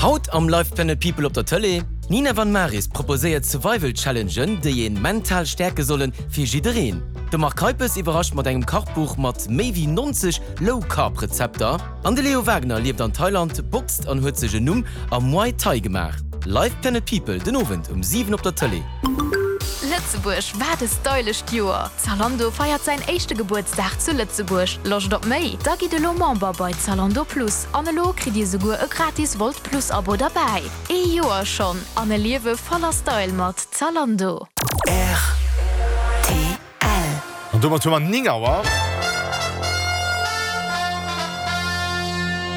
Haut am Live Planet People op der Tëlee, D'Nina Van Maris proposéiert Survival Challengen, déi een mental stäerke sollen, fir jiddereen. De Marc Keipes iwwerrascht mat engem Kachbuch mat méi wéi 90 Low Carb Rezepter. An de Leo Wagner lieft an Thailand, boxt an huet sech en Numm am Muay Thai gemaach. Live Planet People den Owend um 7 op der Tëlee. Lëtzebuerg, wat e stylescht Joer! Zalando feiert säin éischte Gebuertsdag zu Lëtzebuerg. Loscht op méi? Da gitt elo Member bei Zalando Plus an elo kritt dir souguer e gratis Wolt Plus Abo derbäi. Ee Joer schonn an e Liewe voller Style mat Zalando. Rtl. An domat hu mer 9 Auer.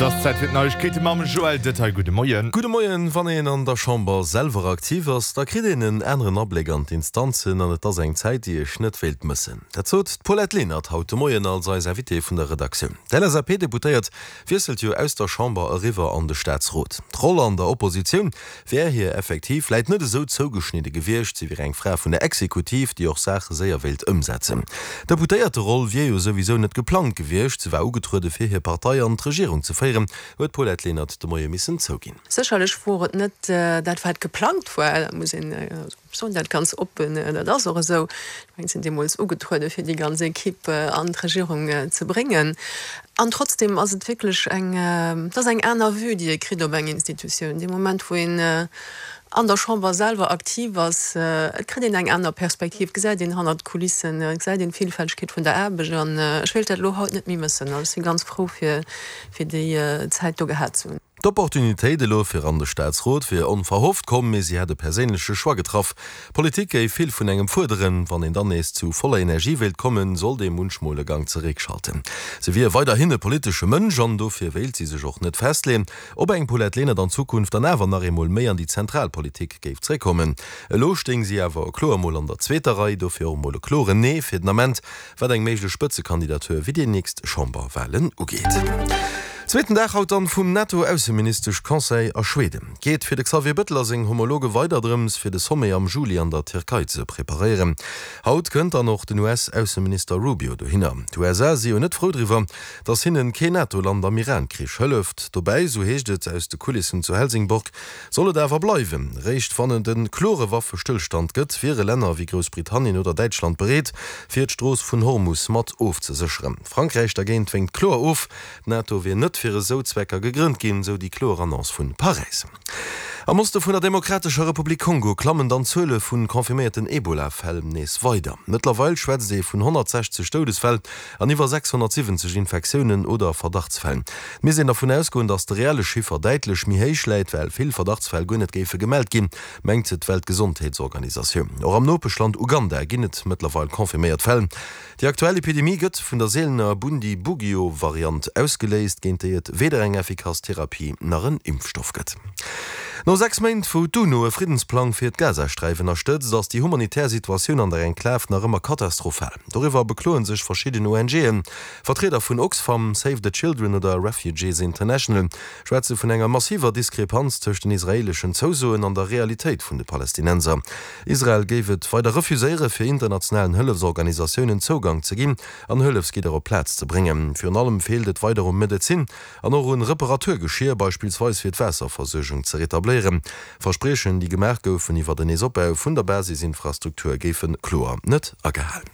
Et ass Zäit fir d'Neiegkeete mam Joël Detaille. Gudde Moien. Gudde Moien. Wann een an der Chamber selwer aktiv ass, da kritt een en aneren Abléck an d'Instanzen an et ass eng Zäit, déi ech net wéilt mëssen. Dat sot d'Paulette Lenert haut de Moien als eis Invitée vun der Redaktioun. D'LSAP-Deputéiert wiesselt jo aus der Chamber eriwwer an de Staatsrot. D'Roll an der Oppositioun wär hir effektiv vläit net esou zougeschnidde gewiescht, si wier eng Fra vun der Exekutiv, déi och Saache séier wéilt ëmsetzen. D'Deputéierteroll wier jo souwisou net geplangt gewiescht, se war ugetruede fir hir Partei an d'Regierung ze féieren, huet d'Paulette Lenert de Moie missen zouginn. Sécherlech wor et net dat wat geplangt war, dat muss een, ech soen dat ganz oppen, dat ass och esou. Ech mengen, ech sinn deemools ugetruede fir déi ganz Equipe an d'Regierung ze bréngen. An trotzdem ass et wierklech eng, et ass eng aner Vue, déi ee kritt op eng Institutioun. Dee Moment, wou een an der Chamber selwer aktiv ass, et kritt een eng aner Perspektiv, et gesäit een hannert d'Kulissen, et gesäit een d'Villfältegkeet vun der Aarbecht. An ech wéilt dat elo haut net méi mëssen. Also ech si ganz frou, fir déi Zäit do gehat ze hunn. D'Opportunitéit elo fir an de Staatsrot wier onverhofft komm, mee si hätt e perséinleche Choix getraff. Politik géif vill vun engem fuerderen. Wann een dann nees zu voller Energie wéilt kommen, sollt ee munchmol e Gang zeréckschalten. Si wier weiderhin e politesche Mënsch an dofir wéilt si sech och net festleeën, ob eng Paulette Lenert an Zukunft dann awer nach eemol méi an déi zentral Politik géif zeréckkommen. Elo stéing si awer kloer mol an der zweeter Rei, dofir och mol e kloren Nee fir den Ament. Wat eng méiglech Spëtzekandidatur fir déi nächst Chamberwahlen ugeet. Zweeten Dag haut dann vum NATO-Ausseministesch Conseil a Schweden. Geet fir de Xavier Bëttel a seng Homologe weider drëms fir de Sommet am Juli an der Tierkei ze preparéieren. Haut kënnt dann och den US-Ausseminister Rubio dohinner. D'USA si jo net frou driwwer, datt hinnen keen NATO-Land am Iran-Krich hëlleft. Dobäi, sou heescht et aus de Kulissen zu Helsingborg, Soll et awer bleiwen. Réischt wann et e klore Waffestëllstand gëtt, wiere Länner wéi Groussbritannien oder Däitschland bereet, fir d'Strooss vun Hormus mat ofzesécheren. Frankräich dergéint wénkt kloer of. D'NATO wier net fir esou Zwecker gegrënnt ginn, sou déi kloer Annonce vu Paräis. Am Oste vun der Demokratescher Republik Kongo klammen dann d'Zuele vu confirméierten Ebola-Fäll nees weider. Mëttlerweil schwätzt ee vun 160 Doudesfäll an iwwer 670 Infektiounen oder Verdachtsfäll. Et misst een dervun ausgoen, datt de reelle Chiffer däitlech méi héich läit, well vill Verdachtsfäll guer net géife gemellt ginn, mengt d'Weltgesondheetsorganisatioun. Och am Nopeschland Uganda ginn et mëttlerweil confirméiert Fäll. Déi aktuell Epidemie gëtt vun der seelener Bundibugyo-Variant ausgeléist, géint déi et weder eng effikass Therapie nach en Impfstoff gëtt. No 6 Méint, wou d'UNO e Friddensplang fir d'Gazasträif ënnerstëtzt, ass déi humanitär Situatioun an der Enklav nach ëmmer katastrophal. Doriwwer bekloe sech verschidden ONGen. Vertrieder vun Oxfam, Save the Children oder Refugees International schwätze vun enger massiver Diskrepanz tëscht den israeeleschen Zousoen an der Realitéit vun de Palästinenser. Israel géif et weider refuséiere fir internationalen Hëllefsorganisatiounen Zougang ze ginn an Hëllefsgidder op d'Plaz ze bréngen. Virun allem feelt et weider u Medezin an och un Reparaturgeschier, beispillsweis fir d'Waasserversuergung ze retabléieren. Verspriechen, déi gemaach goufen iwwer en Neesopbau vun der Basisinfrastruktur, géife kloer net agehal.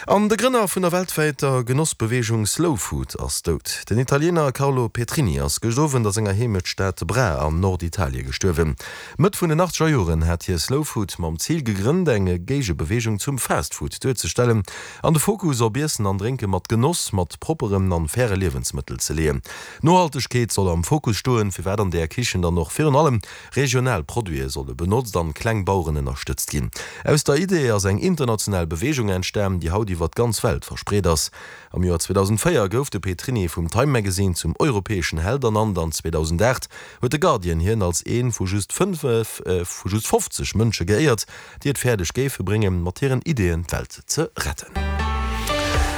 An de Grënner vun der weltwäiter Genossbeweegung Slow Food ass dout. Den Italiener Carlo Petrini ass gëscht Owend a senger Heemechtstad Bra an Norditalie gestuerwen. Mëtt vun den achtzeger Joren hat hie Slow Food mam Zil gegrënnt, eng Géigebeweegung zum Fast Food duerzestellen an de Fokus op Iessen an Drénke mat Genoss, mat propperen an faire Liewensmëttel ze leeën. Nohaltegkeet soll am Fokus stoen, firwat an där Kichen dann och virun allem regional Produite solle benotzt an kleng Baueren ënnerstëtzt ginn. Aus der Idee ass eng international Beweegung entstan, déi haut iwwer d'ganz Welt verspreet ass. Am Joer 2004 gouf de Petrini vum Time Magazine zum europäeschen Held ernannt an 2008 huet de Guardian hien als ee vu just 50 Mënsche geéiert, déi et fäerdeg géife bréngen, mat hiren Ideeën d'Welt ze retten.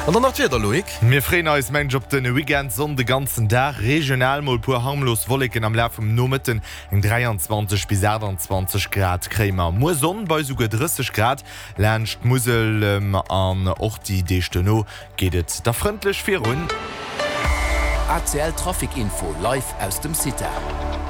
An dann nach d'Wieder, Loïc. Mir freeën eis, mengen ech, op de Weekend. Sonn de ganzen Dag, regional mol puer harmlos Wolleken am Laf vum Nomëtten. Eng 23 bis 28 Grad kréie mer muer. Sonn bei esouguer 30 Grad laanscht d'Musel. An och déi Deeg duerno geet et da frëndlech virun. ACL Trafic Info live aus dem CITA.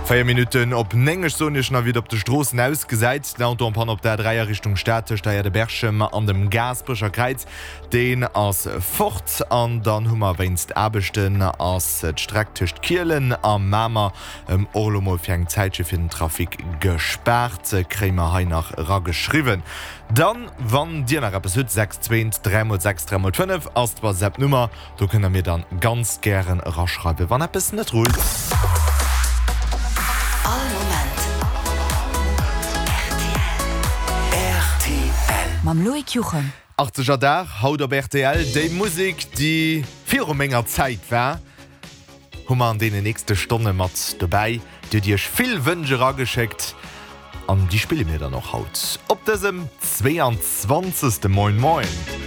4 Minutten op 9, ech soen iech nach wéi et op de Stroossen ausgesäit. Den Auto en panne op der A3 a Richtung Stad tëscht der Aire de Berchem an dem Gaasperecher Kräiz, deen ass fort. An dann hu mer wéinst Aarbechten ass d'Streck tëscht Kielen a Mamer och elo mol fir eng Zäitche fir den Trafic gespaart, kréie mer hei nach erageschriwwen. Dann, wann dir nach eppes hutt, 6 2 3 mol 6 3 mol 5 ass d'WhatsApp-Nummer. Do kënnt der mir dann ganz gären eraschreiwen, wann eppes net rullt. All Moment rtl. Mam Loïc Juchem. Achtzeger Dag haut op rtl. Déi Musek, déi viru menger Zäit war, hu mer an deenen nächste Stonne mat dobäi. Dir hutt iech vill Wënsch erageschéckt an déi spille mir dann och haut op dësem 22. Moin Moin.